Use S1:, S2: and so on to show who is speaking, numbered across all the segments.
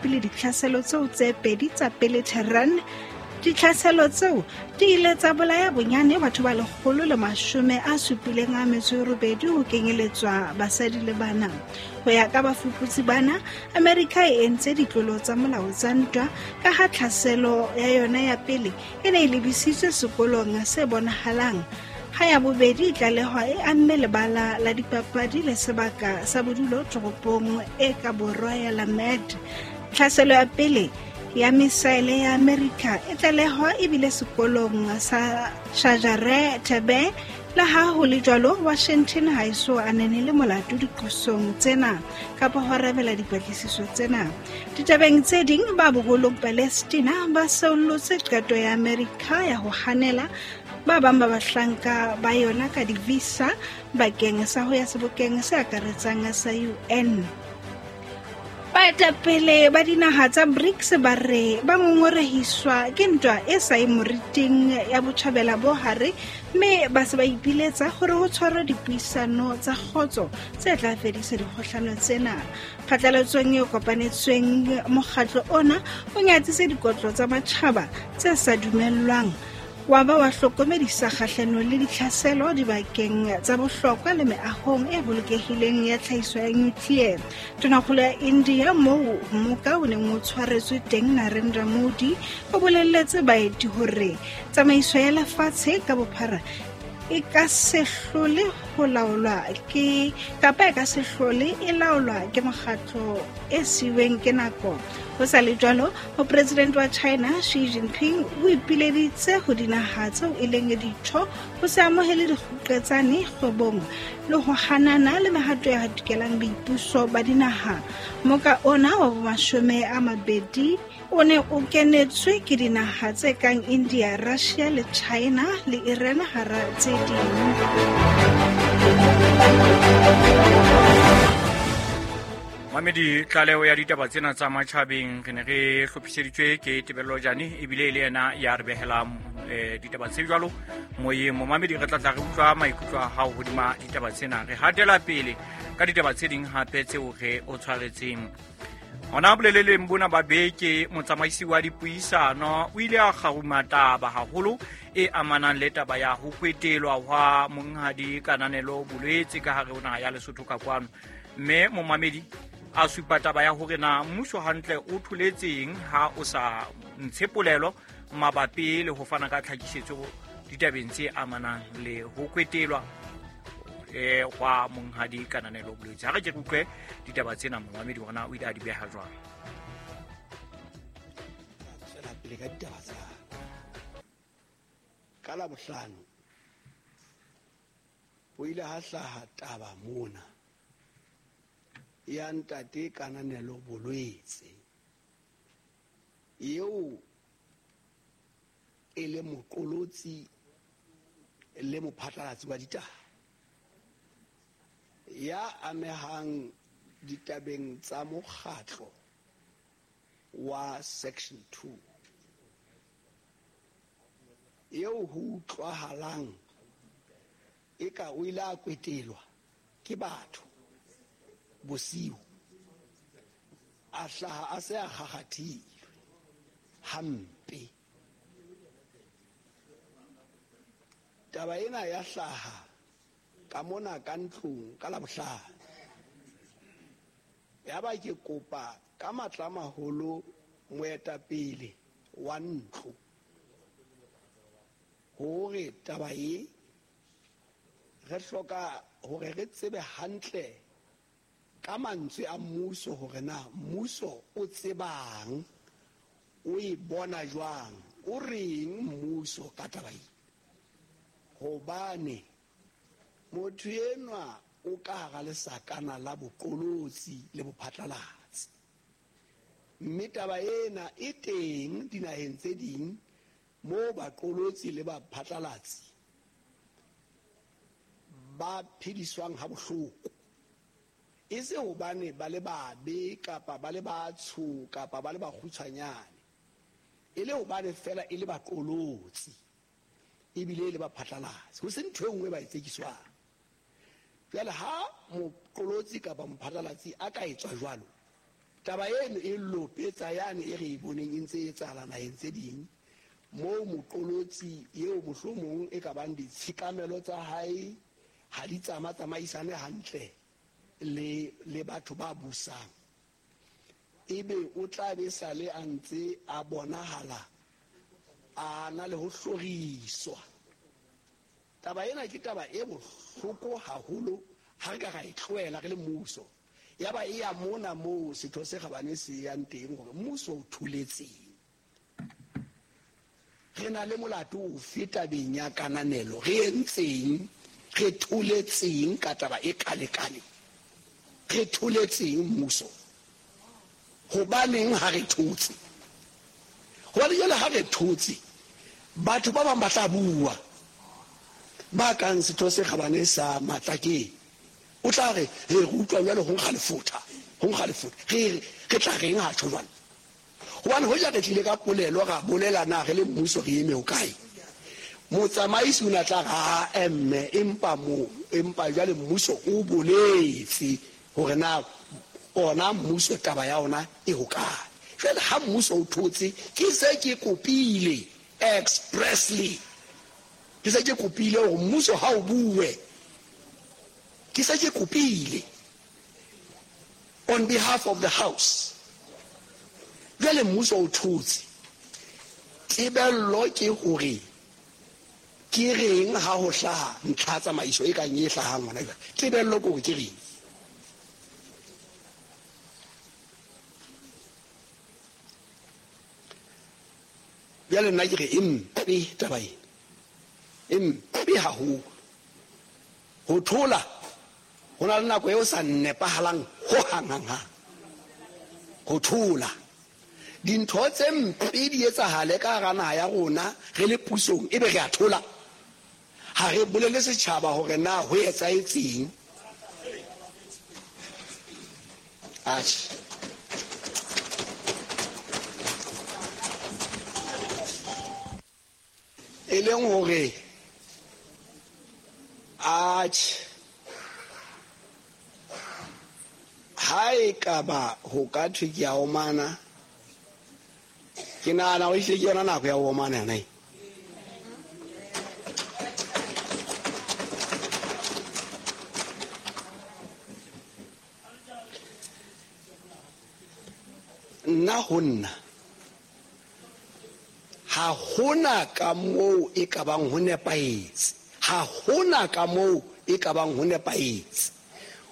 S1: mabapi le ditlhaselo tseo tse pedi tsa pele Tehran. Ditlhaselo tseo di ile tsa bolaya bonyane batho ba 178 ho kenyeletswa basadi le bana. Ho ya ka bafuputsi bana, Amerika e entse ditlolo tsa molao tsa ntwa ka ha tlhaselo ya yona ya pele e ne e lebisitswe sekolong se bonahalang, ha ya bobedi e tlalehwa e amme lebala la dipapadi le sebaka sa bodulo toropong e ka borwa ya Lamerd. Tlhaselo ya pele ya misaele ya Amerika e tlalehwa ebile sekolong sa Shajare Tebe. Le ha ho le jwalo, Washington ha e so anene le molato diqosong tsena kapa ho arabela dipatlisiso tsena. Ditabeng tse ding, ba boholong Palestina ba seollotse qeto ya Amerika ya ho hanela ba bang ba bahlanka ba yona ka di-visa bakeng sa ho ya sebokeng se akaretsang sa UN. Baetapele ba dinaha tsa BRICS ba re ba ngongorehiswa ke ntwa e sa e moriting ya botjhabela bo hare, mme ba se ba ipiletsa hore ho tshwarwe dipuisano tsa kgotso tse tla fedisa dikgohlano tsena. Phatlalatsong e kopanetsweng, mokgatlo ona o nyatsitse dikotlo tsa matjhaba tse sa dumellwang, wa ba wa hlokomedisa kgahlano le ditlhaselo dibakeng tsa bohlokwa le meahong e bolokehileng ya tlhahiso ya nuclear. Tonakgolo ya India moo mmoka o neng o tshwaretswe teng, Narendra Modi, o bolelletse baeti hore tsamaiso ya lefatshe ka bophara e ka se hlole ho laolwa ke kapa e ka se hlole e laolwa ke mokgatlo e siweng ke nako. Ho sa le jwalo, mopresidente wa China Xi Jinping o ipileditse ho dinaha tseo e leng ditho ho se amohele dikgoqetsane kgwebong le ho hanana le mehato ya hatikelang boipuso ba dinaha. Moka ona wa bomashome a mabedi o ne o kenetswe ke dinaha tse kang India, Russia le China le Iran hara tse ding.
S2: Mamedi, tlaleho ya ditaba tsena tsa matjhabeng re ne re hlophiseditswe ke Tebello Jane, ebile e le yena ya re behelang ditaba tse jwalo moyeng. Momamedi, re tla tla re utlwa maikutlo a hao hodima ditaba tsena. Re hatela pele ka ditaba tse ding hape tseo re o tshwaretseng. Hona boleleleng bona ba beke, motsamaisi wa dipuisano o ile a kgaruma taba haholo e amanang le taba ya ho kwetelwa hwa monghadi Kananelo Bolwetse ka hare ho naha ya Lesotho ka kwano. Mme momamedi a supa taba ya hore na mmuso hantle o tholetseng ha o sa ntshe polelo mabapi le ho fana ka tlhakisetso ditabeng tse amanang le ho kwetelwa hwa monghadi Kananelo Bolwetse. Ha re ke re utlwe ditaba tsena, momamedi hore na o ile a di beha jwang.
S3: Tswela pele ka ditaba tsa ka Labohlano. Ho ile ha hlaha taba mona ya ntate Kananelo Bolwetse, eo e le moqolotsi le mophatlalatsi wa ditaba ya amehang ditabeng tsa mokgatlo wa Section 2, eo ho utlwahalang eka o ile a kwetelwa ke batho bosiu, a hlaha a se a kgakgathilwe hampe. Taba ena ya hlaha ka mona ka ntlong ka Labohlano. Ya ba ke kopa ka matla a maholo moetapele wa ntlo hore taba e re hloka hore re tsebe hantle ka mantswe a mmuso hore na mmuso o tsebang, o e bona jwang, o reng mmuso ka taba e. Hobane motho enwa o ka hara lesakana la boqolotsi le bophatlalatsi, mme taba ena e teng dinaheng tse ding moo baqolotsi le baphatlalatsi ba phediswang ha bohloko, e se hobane ba le babe kapa ba le batsho kapa ba le bakgutshwanyane, e le hobane fela e le baqolotsi ebile e le baphatlalatsi, ho se ntho e nngwe ba e tsekiswang. Jwale ha moqolotsi kapa mophatlalatsi a ka etswa jwalo, Taba eno e lopetsa yane e re e boneng e ntse e etsahala naheng tse ding, moo moqolotsi eo mohlomong e ka bang ditshekamelo tsa hae ha di tsama-tsamaisane hantle le le batho ba busang, ebe o tla be sale a ntse a bonahala a na le ho hloriswa. Taba ena ke taba e bohloko haholo ha re ka ra e tlohela re le mmuso, ya ba e ya mona moo Setho se Kgabane se yang teng hore mmuso o tholetseng. Re na le molato ofe tabeng ya kananelo? Re entseng? Re tholetseng ka taba e kalekale? Re tholetseng mmuso? Hobaneng ha re thotse? Hobane jwale ha re thotse, batho ba bang ba tla bua, ba kang Setho se Kgabane sa Matlakeng. O tla re, Re utlwa jwale ho nkga lefotha, ho nkga lefotha. Re, re tla reng ha tjho jwalo? Hobane hoja re tlile ka polelo ra bolela na re le mmuso re eme hokae, motsamaisi o ne a tla re, Aa, mme, empa mo, empa jwale mmuso o boletse hore na ona mmuso taba ya ona e hokae. Jwale ha mmuso o thotse, ke se ke kopile expressly, ke se ke kopile hore mmuso ha o bue, ke se ke kopile on behalf of the house. Jwale mmuso o thotse. Tebello ke hore ke reng ha ho hlaha ntlha tsamaiso e kang e hlahang hona jwale. Tebello ke hore ke reng. Jwale nna ke re e mpe taba ena, e mpe haholo. Ho thola ho na le nako e o sa nepahalang ho hang hang hang. Ho thola dintho tse mpe di etsahale ka hara naha ya rona re le pusong, ebe re a thola, ha re bolele setjhaba hore na ho etsahetseng. Atjhe. E leng hore atjhe, ha e ka ba ho ka thwe ke a omana, ke nahana hore ehlile ke yona nako ya ho omana yona e. Nna ho nna ha hona ka moo e ka bang ho nepahetse, ha hona ka moo e ka bang ho nepahetse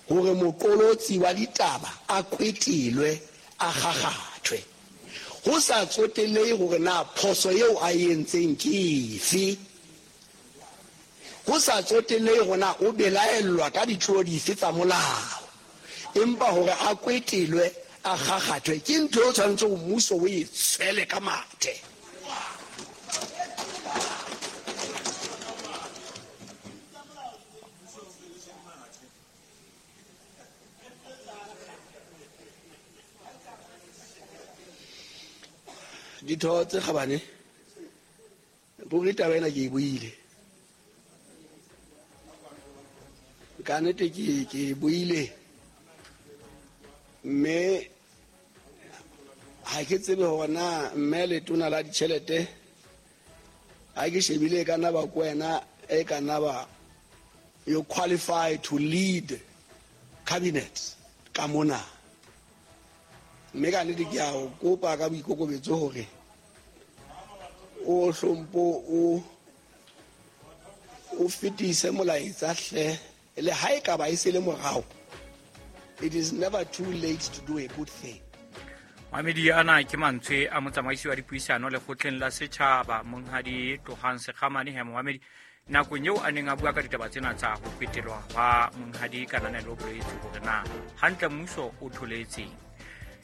S3: hore moqolotsi wa ditaba a kwetelwe, a kgakgathwe, ho sa tsotellehe hore na phoso eo a e entseng ke efe, ho sa tsotellehe hore na o belaellwa ka ditlolo dife tsa molao. Empa hore a kwetelwe, a kgakgathwe, ke ntho eo tshwanetse hore mmuso o e tshwele ka mathe. Ditho tse kgabane, ruri taba ena ke e buile. Ka nnete ke ke e buile, mme ha ke tsebe hore na mme letona la ditjhelete ha ke shebile e ka nna ba ko wena, e ka nna ba you qualify to lead cabinet ka mona. Mme ka nnete ke a o kopa ka boikokobetso hore o hlompo o o fetise molaetsa hle, le ha e ka ba e se le morao. It is never too late to do a good thing.
S2: Mamedi, ana ke mantswe a motsamaisi wa dipuisano lekgotleng la setjhaba, Monghadi Tlohang Sekgamane. He momamedi, nakong eo a neng a bua ka ditaba tsena tsa ho kwetelwa hwa Monghadi Kananelo Bolwetse, hore na hantle mmuso o tholetseng.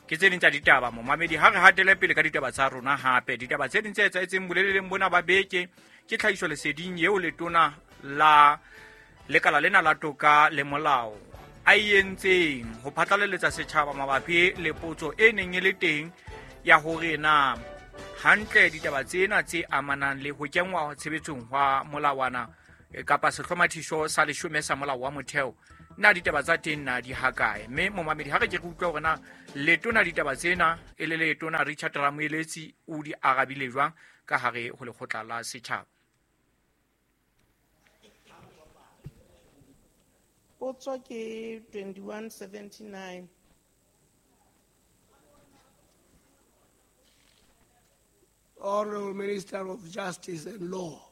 S2: Ke tse ding tsa ditaba, momamedi. Ha re hatele pele ka ditaba tsa rona, hape ditaba tse ding tse etsahetseng boleleleng bona ba beke ke tlhahiso leseding eo letona la lekala lena la toka le molao a e entseng ho phatlalaletsa setjhaba mabapi le potso e neng e le teng ya hore na hantle ditaba tsena tse amanang le ho kenngwa tshebetsong hwa molawana kapa sehlomathiso sa 10 sa molao wa motheo. Na ditaba tsa teng na di hakae? Mme momamedi, ha re ke re utlwa hore na letona ditaba tsena e le letona Richard Ramoeletsi o di arabile jwang ka hare ho lekgotla la setjhaba.
S4: Potso ke 2179.
S3: Honorable Minister of Justice and Law.